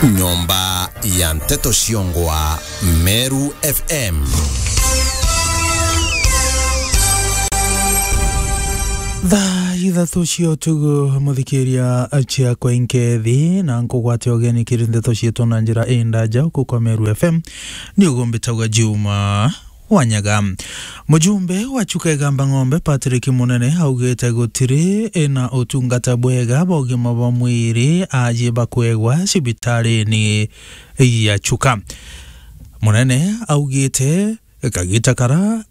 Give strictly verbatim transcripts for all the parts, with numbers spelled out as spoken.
Nyomba ya nteto ciongwa Meru F M. Thaa ithatu cia utugu, muthikiria ciakwa inkethi, na nkugwate ugeni kiri nteto cietu na njira indaja uku kwa Meru F M. Ni ugumbitagwa Juma Wanyaga. Mujumbe wa Chuka Igamba Ng'ombe, Patrick Munene, augite gutiri na utungata bwega bwa ugima bwa mwiri aji bakwegwa cibitarini ya Chuka. Munene augite kagita kara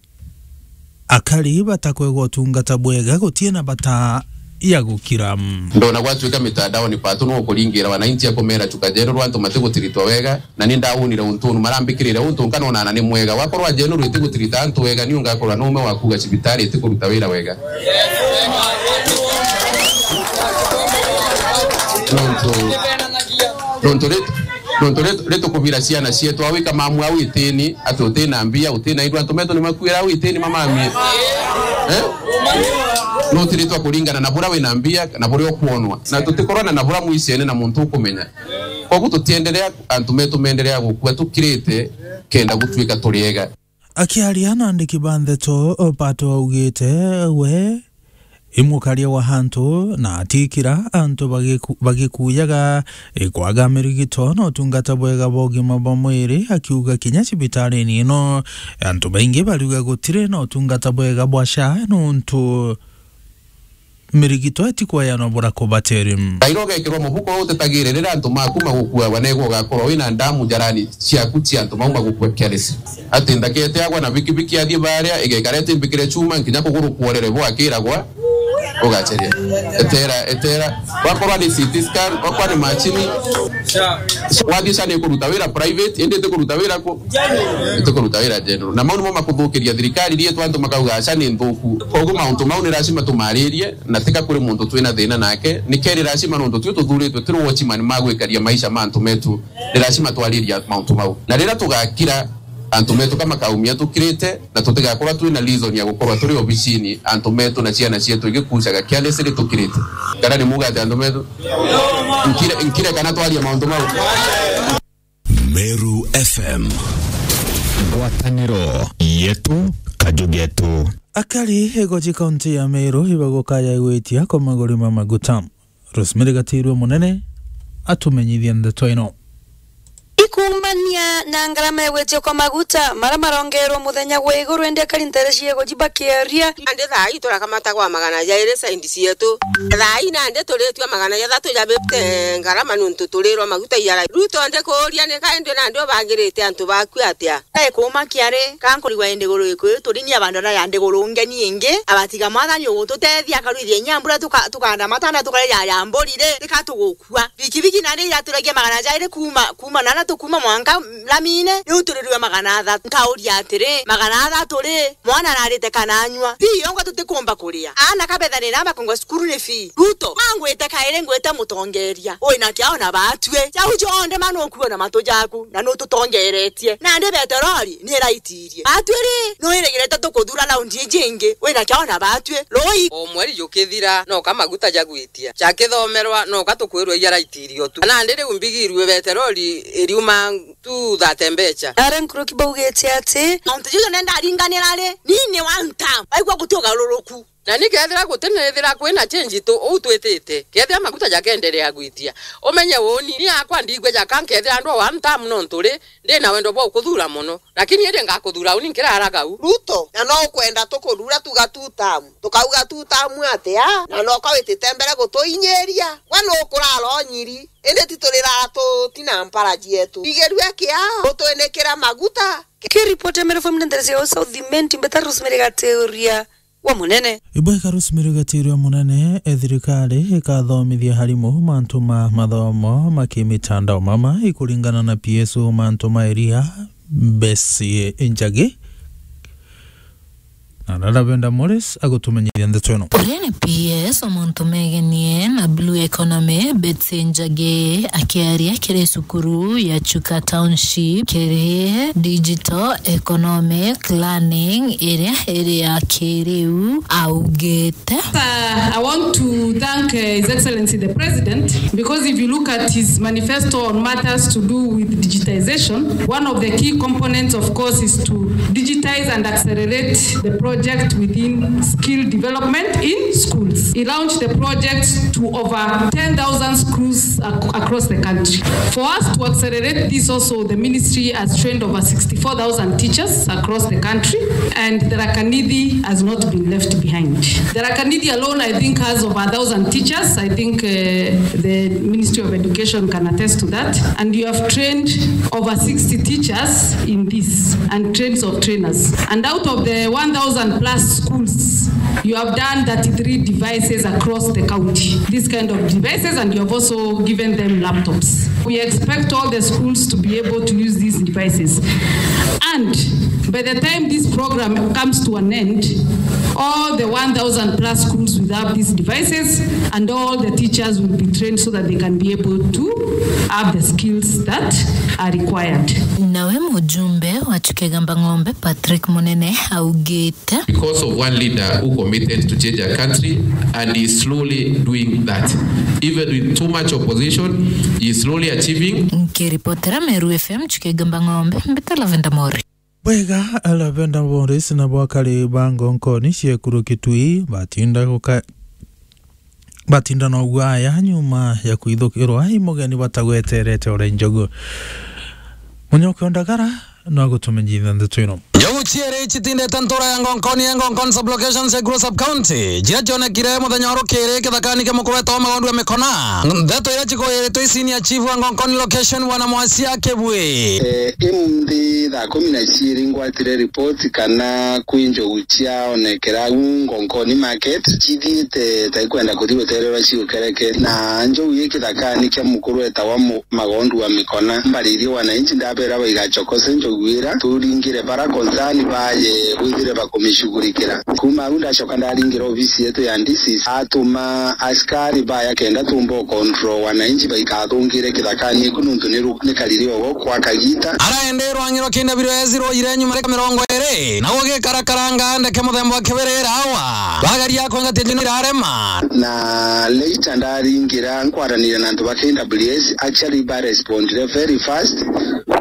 akari batakwegwa utungata bwega gutie na bata ya gukira. Ndona gwatuika mitandaoni patu no kuringira wananchi akumera Chuka General antu matigutiritwa wega, na ni ndawonire untu unu marambikirire untu nkanona na ni mwega. Wakorwa General itigutirita antu wega, ni ungakorwa na ume wa kuga cibitari itikuruta wira wega. Nontu, nontu rit-, nontu rit-, ritukubira ciana cietu, awika mamu au itini, ati utina mbia, utina indo, antu metu ni makuira au itini mamamie. Eh? No utiritwa kuringana na bura wina mbia, na buria ukwonwa. Na tutikorana na bura mwicene na muntu ukumenya. Koguo tutienderea, antu metu menderea gukua tukirite, kenda gutuika turiega. Akiaria na andiki ba ndeto, Pato augite we i mukaria wa antu na atikira antu bagiku-, bagikuyaga, e, kwaga mirigito na utungata bwega bwa ugima bwa mwiri, akiuga kinya cibitarini ino antu baingi bariuga gutiri na utungata bwega bwa SHA nontu mirigito itikweanwa bura kubatiri. Kaira ugekirwa mubuko utitagire riria antu maku magukuagwa, negwa ugakorwa wina ndamu njarani ciaku cia antu mau magukua careless. Ati ndakete agwa na bikibiki athie baria, igekara itimbikire chuma, nkinya kuguru kworere bo akiragwa, ugacheria. Etera, etera. Wakorwa ni C T scan, wakorwa ni machini, wathie SHA ni kuruta wira private, indi iti kuruta wira ku? Iti kuruta wira general. Na mau nimo makuthukiria thirikari rietu, antu makauga SHA ni nthuku. Koguo mauntu mau ni lazima tumaririe, na tika kuri muntu twina thina nake. Nikeri lazima nontu tio tuthuritwe turi watchman ma gwikaria maisha ma antu metu, ni lazima twaririe mauntu mau. Na riria tugakira, antu metu ka makaumia tukirite, na tutigakorwa twina reason ya gukorwa turi obicini, antu metu na ciana cietu igikucaga carelessly tukirite. Kana ni muga ati antu metu? Nkire, nkire kana twaria mauntu mau? Meru F M. Ngwataniro yetu, kaju getu. Akari igoji kaunti ya Meru ibagukaya gwitia kwa maguri ma maguta. Rosemary Gatirua Munene atumenyithia ndeto ino. Ikumbania na ngarama ya gwitia kwa maguta mara marongerwa muthenya gwa iguru, indi akari ntere cia igoji bakiaria. Nandi thaa ii turakamata gwa magana jairi saindi cietu. Thaa ii nandi turitua magana jathatu jabite ngarama nuntu turirwa maguta iara. Ruto ndi kuuria ni kaindi nandi ubangirite antu baku atia? Ai, kuuma kiari, ka nkurigwa i ndiguru iku, turinyia bandu na ya ndiguru ngeni ingi, abatiga mwathani ugututethia, akarwithia inya mbura tuka-, tukanda matanda tukare ya, ya mburi ri, tika tugukua. Bikibiki nandi iraturagia magana jairi kuuma, kuuma nana tukuma mwanka Lamine, riu turirwe magana athatu. Nkauria atiri, magana athatu ri, mwana ararite kana anyua? Fee yongwa tutikumba kuria. Aana kabetha ni na makongwa cukuru ni fee. Ruto, angwite kairi ngwite mutongeria. Wina kiao na batue. Jau jonthe ma nukuona matu jaku, na nututongeretie. Nandi beterori ni iraitirie. Batue ri, nwirigirite tukuthura raundi iji ingi, wina kiao na batue. Rui. O mweri jukithira, noka maguta jagwitia. Jakithomerwa, noka tukwirwa iaraitirio tu. Nandi riu mbigirue beterori iriuma tu thate mbecha. Aria nkuruki baugite ati, mauntu jau nenda aringanira ri, ni ni one term. Waigua guti ugaruruku. Na ni kethira guti, nithira kwina change tu uu twitite, kethira maguta jakeenderea gwitia, umenye uuni, ni akwa ndigwe jaka nkethira ndwa one term nontu ri, ndi na wendo bwa ukuthuura mono. Lakini indi ngakuthura uni nkiraraga u. Ruto, na no ukwenda tukurura tuga two term. Tukauga two term atia? Na no ka witite mbere gutuinyiria. Gwe nukurara unyiri. Indi ti turiraga tutina mpara cietu. Igirue kia, utwinikira maguta. Kiripoti ya Meru F M ni ntere cia South Imenti, mbeta Rosemary Gateoria wa Munene. Ibweka Rosemary Gateoria wa Munene, e thirikari ikathomithia harimu mantu ma mathomo ma kimitandao mama ikuringana na P S O mantu ma iria Bessie Njagi. Na Lavenda Morris agutumenyithia ndeto ino. Uria ni P S o muntu megenie na Blue Economy, Betsy Njagi, akiaria kiri cukuru ya Chuka Township kiri digital economic learning iria iri ya kiriu, augite. Uh, I want to thank, uh, His Excellency the President, because if you look at his manifesto on matters to do with digitization, one of the key components, of course, is to digitize and accelerate the project within skill development in schools. He launched the project to over ten thousand schools ac-, across the country. For us to accelerate this also, the ministry has trained over sixty-four thousand teachers across the country, and Tharaka Nithi has not been left behind. Tharaka Nithi alone, I think, has over a thousand teachers. I think, uh, the Ministry of Education can attest to that. And you have trained over sixty teachers in this and trains of trainers. And out of the one thousand plus schools, you have done thirty-three devices across the county, these kind of devices, and you have also given them laptops. We expect all the schools to be able to use these devices. And by the time this program comes to an end, all the one thousand plus schools will have these devices, and all the teachers will be trained so that they can be able to have the skills that are required. Nawe mujumbe wa Chuka Igamba Ng'ombe, Patrick Munene, augite. Because of one leader who committed to change a country and is slowly doing that. Even with too much opposition, he is slowly achieving. Nkiripotera Meru F M, Chuka Igamba Ng'ombe, mbita Lavenda Morris. Bwega, Lavenda Morris na bwakari ba Ngonkoni ciekuru Kitui batinda guka-, batinda na ugwaya nyuma ya kwithukirwa i mugeni batagweterete ore njogu. Munyoke Ondagara no agutumenyithia ndeto ino. Njogu ciiri citindite ntura ya Ngonkoni ya Ngonkoni sub-location Seguru sub-county, ciria cionekire muthenya wa rukiri kithakani kia mukuru wetagwa Magondu ya Mikona. Ndeto iria cikuiritwe i senior chief wa Ngonkoni location, Bwana Mwasia Kibwi. Eh, imunthi thaa kumi na ciiri ngwatire ripoti kana kwi njogu ciaonekera au Ngonkoni market, cithiite ta ikwenda kuthi gutererwa ciukereke. Na njogu i kithakani kia mukuru wetagwa Mu-, Magondu wa Mikona. Mbaririe wananchi, ndabera baigachokose njogu ira, turingire bara concern baye bwithire bakumishughulikira. Kuma au ndacoka ndaringira ofisi yetu ya D C, atuma askari baya kenda tumba u control wananchi baikathungire kithakani iku, nuntu ni ru-, ni kariri ogo kwa kagita. Araende rwang'i rwa K W S rwoire nyuma ya mirongo iri, na gugikarakara ngandeke muthemba wa kibirira awa. Bagaria kwengatia jino irarema. Na later ndaringira nkwaranire na antu ba K W S, actually ba respondire very fast.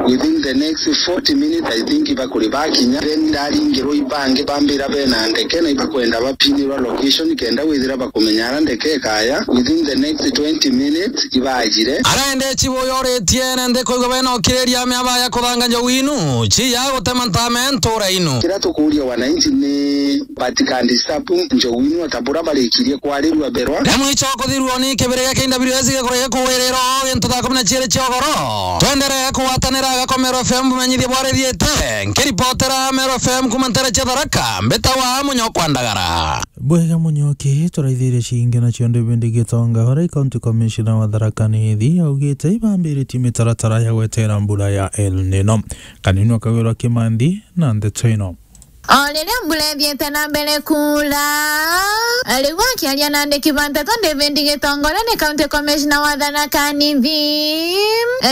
Within the next forty minutes, I think bakuri bakinya. Then ndaringirwo ibangi bambira bena ndeke na ibakwenda bapinirwa location kenda withira bakumenya ara ndeke ikaya. Within the next twenty minutes, ibajire. Araende chibu yoritie na nthi kuigwa bena ukiriria miaba ya kuthanga njogu inu, chi ya gutema ntame ntura inu. Kira tukuria wananchi ni batikandisturb njogu inu ata bura barikirie kwarirua berwa. Rimwe icho kuthirua ni kibiri gia K W S gikuria gikuwirira o gintu thaa kumi na ciiri cia ugoro. Twenderee kugwatanira Gakomero F M bumenyithie bwarithiite. Nkiripotera Meru F M kuma ntere cia Tharaka, mbitagwa Munyokwa Ndagara. Bwega Munyoki, turaithirie ciingi nacio David Gitonga, uria i County Commissioner wa Tharaka Nithi, augite ibambiritie mitaratara ya gwetera mbura ya El Nino. Kanini Kawira Kimanthi na ndeto ino. O riria mbura ithiite na mbere kuura, riu akiaria na andiki ba nteto, David Gitonga uria ni County Commissioner wa Tharaka Nithi,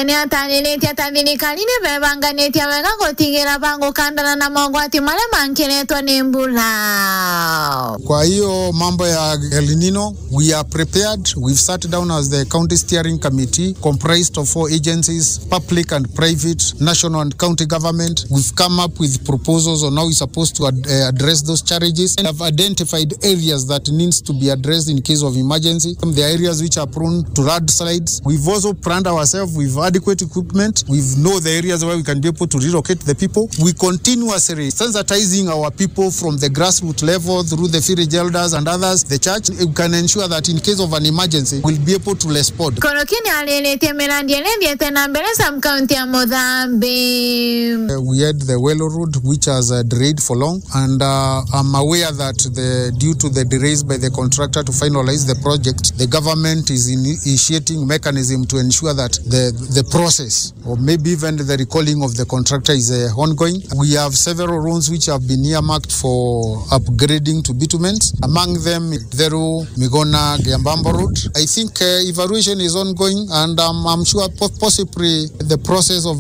ni atariritie ata thirikari ni bebanganitie wega gutigira bagukandana na mogwati maria mankiretwe ni mbura. Kwa hiyo mambo ya El Nino, we are prepared. We've sat down as the County Steering Committee, comprised of four agencies, public and private, national and county government. We've come up with proposals on how we're supposed to ad-, eh, address those challenges and have identified areas that needs to be addressed in case of emergency. There are areas which are prone to landslides. We've also planned ourselves with adequate equipment. We know the areas where we can be able to relocate the people. We continuously sensitizing our people from the grassroots level through the village elders and others, the church. We can ensure that in case of an emergency, we'll be able to respond. Koroki ni ariritie mirandi iria ithiite na mbere sub-county ya Muthambi. Uh, we had the Welo Road, which has, uh, drained for long, and uh, I'm aware that the, due to the delays by the contractor to finalize the project, the government is initiating mechanism to ensure that the, the process or maybe even the recalling of the contractor is uh, ongoing. We have several roads which have been earmarked for upgrading to bitumens, among them Theru, Migona, Giambambo Road. I think uh, evaluation is ongoing, and um, I'm sure po- possibly the process of